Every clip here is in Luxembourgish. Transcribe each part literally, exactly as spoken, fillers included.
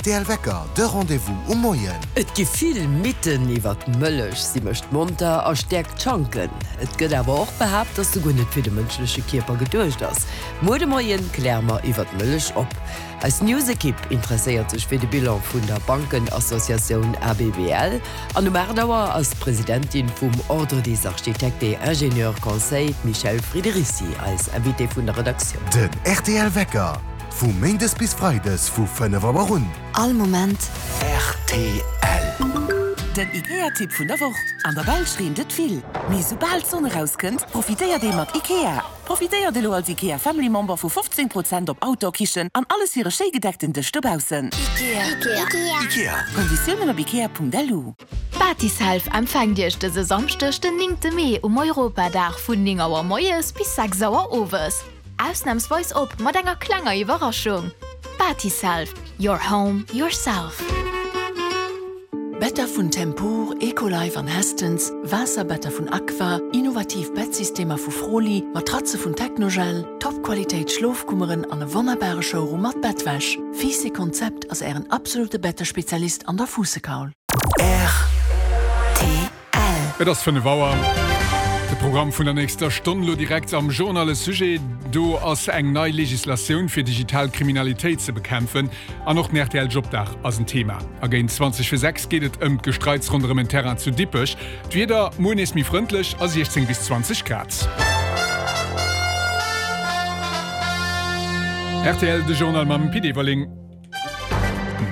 rtl Wecker, de Rendez-vous um Moien. Et gi vill Mythen iwwer d'Mëllech, si mécht monter a stäerkt d'Schanken. Et gëtt awer och behaapt, dass se guer net fir de mënschleche Kierper geduecht ass. Muer de Moien kläre mer iwwer d'Mëllech op. Eis News-Ekipp interesséiert sech fir de Bilan vun der Bankenassociatioun ABBL. An um aacht Auer ass d'Presidentin vum Ordre des Architectes et Ingénieurs Conseils, d'Michèle Friederici, eis Invitée vun der Redaktioun. Den rtl Wecker, vu Méindes bis Freides vu fënnef Auer un. All Moment. Rtl. Den IKEA-Tipp vun der Woch, An der Belsch reent et vill, mee soubal d'Sonn erauskënnt, profitéiert ee mat IKEA. Profitéiert elo als IKEA Family Member vu fofzéng Prozent op Outdoor-Kichen an alles fir e schéi gedeckten Dësch dobaussen. Ikea. Ikea. Konditiounen op ikea.lu. Batiself empfänkt Iech dëse Samschdeg den néngte Mee um Europadag vun néng Auer moies bis sechs Auer owes. Ausnamsweis op mat enger klenger Iwwerraschung. Batiself, your home, yourself. Better vun Tempur, Ecolife an Hästens, Waasserbetter vun Aqua, innovativ Bettsystemer vu Froli, Matratze vun Technogel, Top-Qualitéit Schlofkummeren an e wonnerbare Showroom mat Bettwäsch. Fiiss Konzept ass ären absolute Bettespezialist an der Fuussekaul. Rtl. Et ass fënnef Auer. De Programm vun der nächster Stonn lo direkt am Journal e Sujet, do ass eng nei Legislatioun fir digital Kriminalitéit ze bekämpfen an och den rtl Jobdag ass en Thema. A géint zwanzeg fir sechs geet et ëm d'Gestreits ronderëm en Terrain zu Dippech. D'Wieder, muer nees méi frëndlech a siechzéng bis zwanzeg Grad. Rtl, de Journal mam Pit Everling.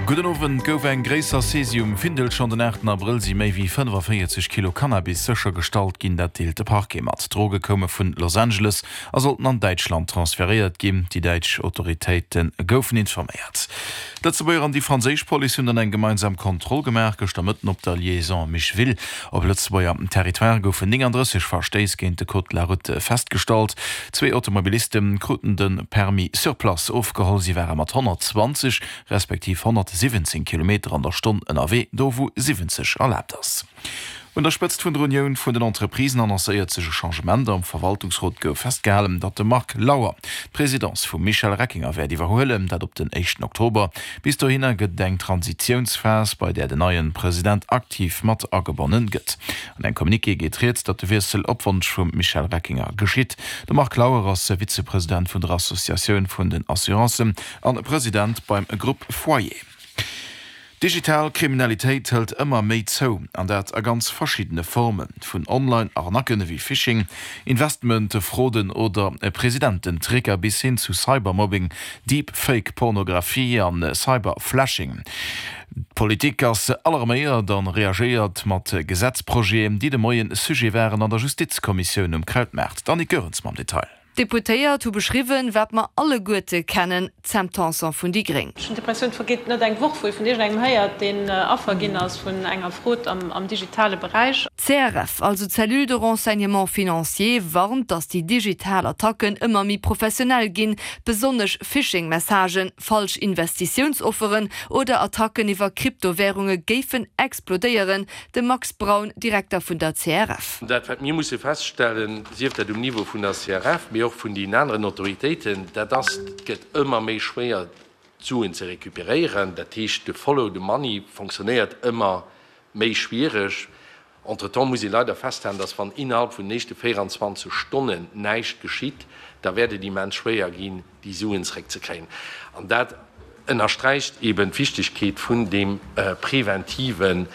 Gudden Owend. Gouf eng gréisser Saisie um Findel. Schonn den aachten Abrëll si méi wéi fënnefavéierzeg Kilo Cannabis séchergestallt ginn, dat deelt de Parquet mat. D'Droge koume vun Los Angeles a sollten an Däitschland transferéiert ginn. Déi däitsch Autoritéite goufen informéiert. D'Lëtzebuerger an déi franséisch Police hunn dann eng gemeinsam Kontroll gemaach gëschter Mëtten op der Liaison Micheville. Op Lëtzebuerger Territoire goufen néngandrësseg Verstéiss géint de Code de la route festgestallt. Zwee Automobiliste kruten de Permis sur place ofgeholl. Si ware mat honnertzwanzeg respektiv honnertsiwwenzéng Kilometer an der Stonn ënnerwee, do wou siwwenzeg erlaabt ass. Un der Spëtzt vun der Unioun vun den Entreprisen annoncéiert sech e Changement. Am Verwaltungsrot gouf festgehalen, datt de Marc Lauer d'Presidence vum Michel Reckinger wäert iwwerhuelen, dat op den éischten Oktober. Bis dohinner gëtt et eng Transitiounsphas, bei där den neien President aktiv mat agebonnen gëtt. An engem Communiqué geet rieds, datt de Wiessel op Wonsch vum Michel Reckinger geschitt. De Marc Lauer ass Vizepresident vun der Associatioun vun den Assurancen an President beim Groupe Foyer. Digital Kriminalitéit hëlt ëmmer méi zou, an dat a ganz verschiddene Formen, vun Online-Arnacken ewéi Phishing, Investment-Fraude oder Presidententricker bis hin zu Cybermobbing, Deepfake-Pornografie an Cyberflashing. D'Politik ass alarméiert an reagéiert mat Gesetzprojeten, déi de Moien Sujet waren an der Justizkommissioun um Krautmaart. D'Annick Goerens mam Detail. D'Deputéiert hu beschriwwen, wat mer alleguerte kennen, d'Sam Tanson vun déi gréng. Ech hunn d'Impressioun, et vergeet net eng Woch, wou ee vun iergendengem héiert, deen Affer ginn ass vun enger Fraude am digitale Beräich. D'C R F, also d'Cellule de renseignement financier, warnt, datt déi digital Attacken ëmmer méi professionell ginn, besonnesch Phishing-Messagen, falsch Investitiounsofferen oder Attacken iwwer Kryptowärunge géifen explodéieren. De Max Braun, Direkter vun der C R F. Dat, wat mir musse feststellen, sief dat um Niveau vun der C R F, mee och vun den aneren Autoritéiten, dat ass, et gëtt ëmmer méi schwéier, d'Suen ze recuperéieren. Dat heescht, de Follow the money fonctionnéiert ëmmer méi schwiereg. Entretemps muss ee leider festhalen, dass wann innerhalb vun den éischte véieranzwanzeg Stonnen näischt geschitt, da wäert et immens schwéier ginn, déi Suen zeréckzekréien. An dat ënnersträicht eben d'Wichtigkeet vun deem preventiven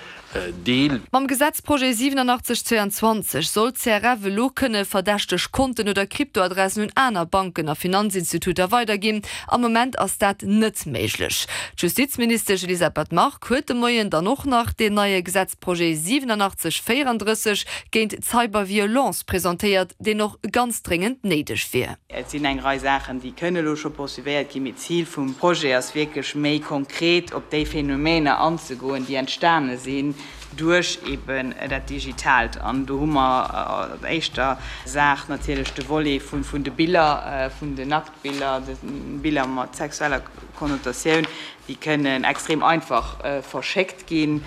Deel. Mam Gesetzprojet siwenanachtzeg zweiundzwanzeg soll d'C R F elo kënne verdächteg Konten oder Kryptoadressen un aner Banken a Finanzinstituter weiderginn. Am Moment ass dat net méiglech. D'Justizministesch Elisabeth Margue huet de Moien dann och nach deen neie Gesetzprojet siwenanachtzeg véierandrësseg géint d'Cyberviolence presentéiert, deen och ganz dréngend néideg wier. Et sinn eng Rei Saachen, déi kënne elo scho poursuivéiert ginn, mee d'Zil vum Projet ass wierklech méi konkret op déi Phänomener anzegoen, déi entstane sinn duerch eben dat Digitaalt. An do hu mer als éischter Saach natierlech de Volet vun de Biller, vun den Nacktbiller, de Biller mat sexueller Konnotatioun, déi kënnen extrem einfach verschéckt ginn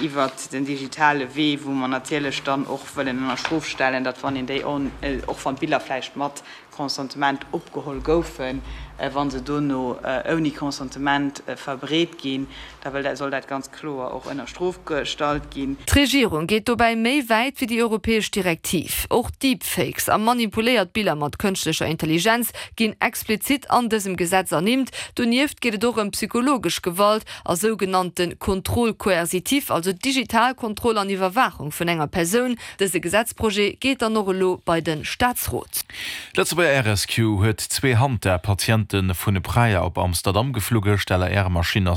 iwwert den digitale Wee, wou mer natierlech dann och wëllen ënner Strof stellen, datt wann een déi, och wann d'Biller vläicht mat Consentement opgeholl goufen, Wa se dono ouni Consentement verbreet ginn, da soll dat ganz kloer och ënner Strof gestallt ginn. D'Regierung geet dobäi méi wäit wéi déi europäesch Direktiv. Och Deepfakes a manipuléiert Biller mat kënschtlecher Intelligenz ginn explizit an dësem Gesetz ernimmt. Donieft geet et och ëm psychologesch Gewalt a sougenannte Contrôle coercitif, also digital Kontroll an Iwwerwaachung vun enger Persoun. Dëse Gesetzprojet geet dann och elo bei de Staatsrot. D'Lëtzebuerger Air Rescue huet zwee Hanta-Patiente vun Praia op Amsterdam geflugge. D'LAR-Maschinn ass